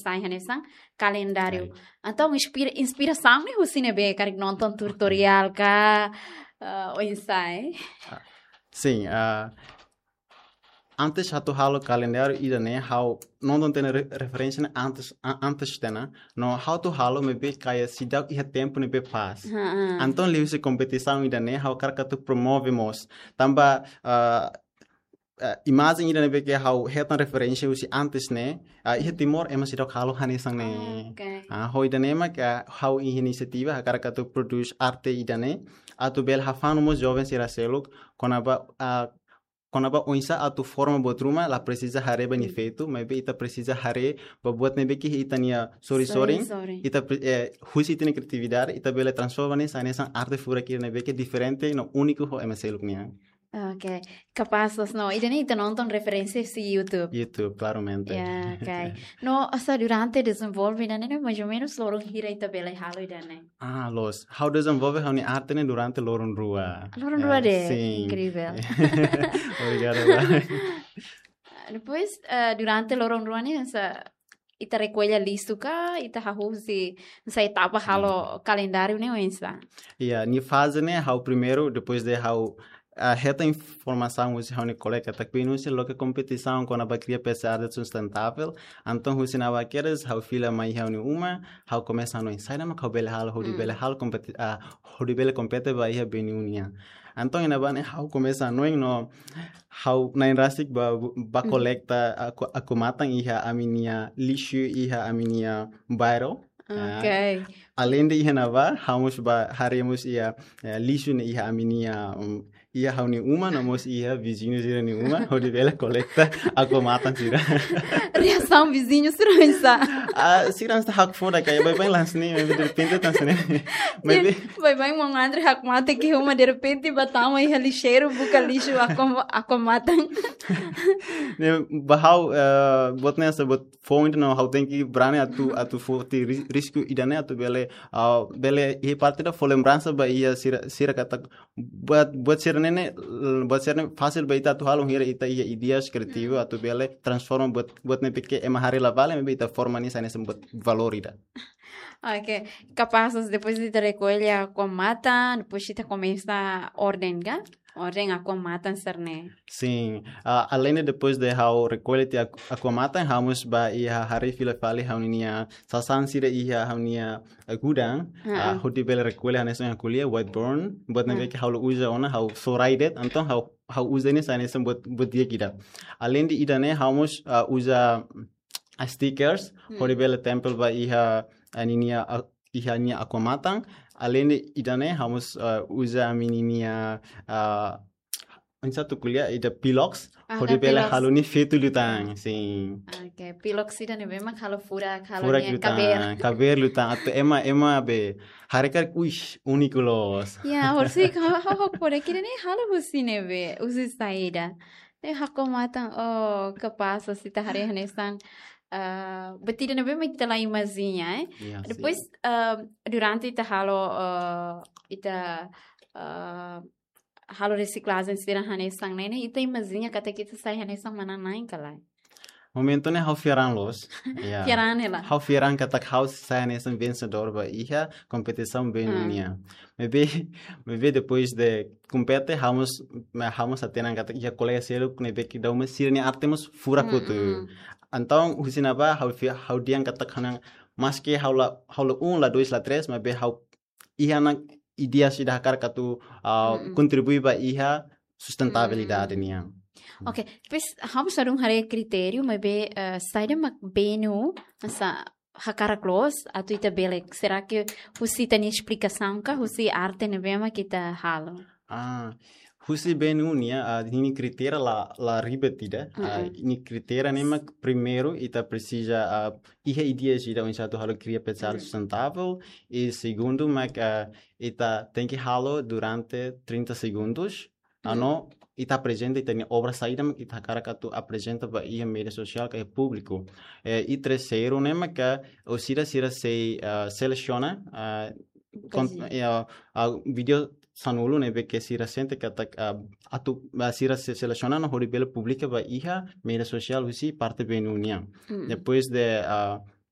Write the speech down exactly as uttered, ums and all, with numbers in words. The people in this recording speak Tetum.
sai hanesan kalendáriu. Ai. Entaun, inspira, inspirasaun ne'e husi ne'ebé, karik nonton tutoriál ka, ah, oinsá? Sin, ah, antes atu halo kalendáriu ida-ne'e, ha'u nonton tiha ona re-, referénsia ne'e antes, a-, antes tiha ona. No ha'u atu halo maibé kayak seidauk iha tempu ne'ebé pas. Ha, ha. Entaun liuhusi kompetisaun ida-ne'e, ha'u hakarak atu promove mós. Tanba, ah, ah, imajen ida ne'ebé ke ha'u hetan referénsia husi antes ne'e, ah, iha Timor ema seidauk halo hanesan ne'e. Oke. Ah, ho ida-ne'e mak, ah, ha'u iha inisiativa hakarak atu prodús arte ida-ne'e, atu bele hafanu mós joven sira seluk, kona-ba, ah, kona-ba oinsá atu forma buat ruma, la presiza haree ba nia feto, maibé ita presiza haree ba buat ne'ebé ke ita-nia sorin-sorin, Sorin-sorin. ita pre-, eh, husi ita-nia kriatividade, ita bele transforma ne'e sai hanesan arte furak ida ne'ebé ke diferente no úniku ho ema seluk nian. Oke, kapás loos no. Ida-ne'e ita nonton referénsia husi YouTube. YouTube, klaramente. Ya, oke. No, hanesan durante dezenvolve ida-ne'e, mais ou menus loron hira ita bele halo ida-ne'e? Ah, loos. Ha'u dezenvolve ha'u-nia arte ne'e durante loron rua. Loron rua Eh, de'it. Sin. Incrível. Obrigadu, Bá. Depois, eh, durante loron rua ne'e, hanesan ita rekolla lixu ka, ita hahú husi, hanesan etapa halo kalendáriu ne'e oinsá? Ya, nia faze ne'e ha'u primeiru, depois de ha'u, ah, hetan informasaun husi ha'u-nia kolega katak bele husi loke kompetisaun kona-ba kria peça de arte sustentável. Entaun husi ne'ebá kedas ha'u fila mai ha'u-nia uma, ha'u komesa hanoin saida mak ha'u bele halo, hodi Mm. bele halo kompeti-, ah, hodi bele kompete ba iha B N U nian. Entaun iha ne'ebá ne'e ha'u komesa hanoin no ha'u na'in rasik bá, bá Mm. kolekta aqua-, aquamatan iha ami-nia lixu iha ami-nia bairru. Ah, Oke. alende iha ne'ebá, ha'u mós bá haree mós iha, eh, lixu ne'e iha ami-nia, um, iha ha'u-nia uma, no mós iha viziñu sira-nia uma, hodi bele kolekta aquamatan sira. Reasaun viziñu sira oinsá? Ah, sira hanesan hakfodak kayak baibain lans ne'e, maibé derrepente tan sene. Maibé, Baibain maun André hakmatek iha uma derrepente bá tama iha lixeiru buka lixu aqua-, aquamatan. ne'e, ba ha'u, eh, buat ne'e hanesan buat foin no ha'u tenke brani atu, atu foti ri-, risku ida-ne'e atu bele, ah, bele iha parte ida fó lembransa ba iha sira, sira katak buat, buat sira-ne'e, buat sira-ne'e fasil ba ita atu halo hira ita iha ideias kriativu atu bele transforma buat, buat ne'ebé ke ema haree la vale, maibé ita forma nia sai hanesan buat valór ida. Oke, kapás depois de ita rekolla aquamatan, depois ita komesa orden ka? Orden aquamatan sira-ne'e. Sin, ah, alende depois de ha'u rekolla tiha aqu-, aquamatan, ha'u mós bá iha haree fila fali ha'u-nia sasán sira iha ha'u-nia, eh, gudang, Ah, ah, ah. hodi bele rekolla hanesan ha'u ko'alia, whiteboard, buat ne'ebé Ah. ke ha'u la uza ona, ha'u só rai de'it, entaun ha'u, ha'u uza ne'e sai hanesan buat, buat di'ak ida. Alende ida-ne'e, ha'u mós, ah, uza, ah, stickers, Hmm. hodi bele tempel ba iha, ah, ninia, ah, iha nia aquamatan. Alende ida-ne'e, ha'u mós, ah, uza ami-nia, ah, oinsá atu ko'alia, ida pilox, Ah, hodi da bele pilox. halo nia feto liután, sin. Oke, pilox ida-ne'e memang halo furak, halo Furak nia liután, kabeer. kabeer liután, atu ema, ema be, haree karik, uish, úniku loos. Ya, horisehik ha'u, ha'u, ha'u hakfodak ida-ne'e halo husi ne'ebé, husi saida. Ne'e aquamatan, oh, kapás, se ita haree hanesan, ah, buat ida-ne'ebé mak ita la imajina, eh. Ya, sin. Depois, ah, durante ita halo, ah, ita, ah, halo resiklajen sira hanesan ne'e, ne'e ita imajina katak ita sai hanesan manán-na'in ka lae? Momentu ne'e ha'u fiar an loos. Ya. Fiar an hela. Ha'u fiar an katak ha'u sai hanesan vensedór ba iha kompetisaun B N U Ah. nian. Maibé, maibé depois de kompete, ha'u mós, ha'u mós hatene katak iha kolega seluk ne'ebé ke daudaun sira-nia arte mós furak Mm, hotu. mm. Entaun, husi ne'ebá, ha'u fi-, ha'u dehan katak hanesan, maske ha'u la, ha'u la um, la dois, la três, maibé ha'u iha ona ideias ida hakarak atu, ah, Mm, mm. kontribui ba iha sustentabilidade Mm. nian. Oke, depois ha'u mós ladún haree kritériu, maibé, eh, saida mak B N U, hanesan hakarak loos, atu ita bele, será ke husi ita-nia esplikasaun ka, husi arte ne'ebé mak ita halo? Ah, husi B N U nian, ah, ninia kritéria la, la ribet ida. Ah, Mm-mm. ninia kritéria ne'e mak primeiru, ita presiza, ah, iha ideias ida oinsá atu halo kria peça de arte Mm. sustentável. I segundu mak, ah, ita tenke halo durante trinta segundos. Ah, Mm. no, ita aprezenta ita-nia obra saida mak ita hakarak atu aprezenta ba iha média sosiál ka iha públiku. Eh, i terseiru ne'e mak, ah, orsida sira sei, ah, selesiona, ah, kon-, Kaji. eh, ah, vídeo sanulu ne'ebé ke sira sente katak, ah, atu, ah, sira se-, selesiona no hodi bele publika ba iha média sosiál husi parte B N U nian. Mm. Depois de, ah,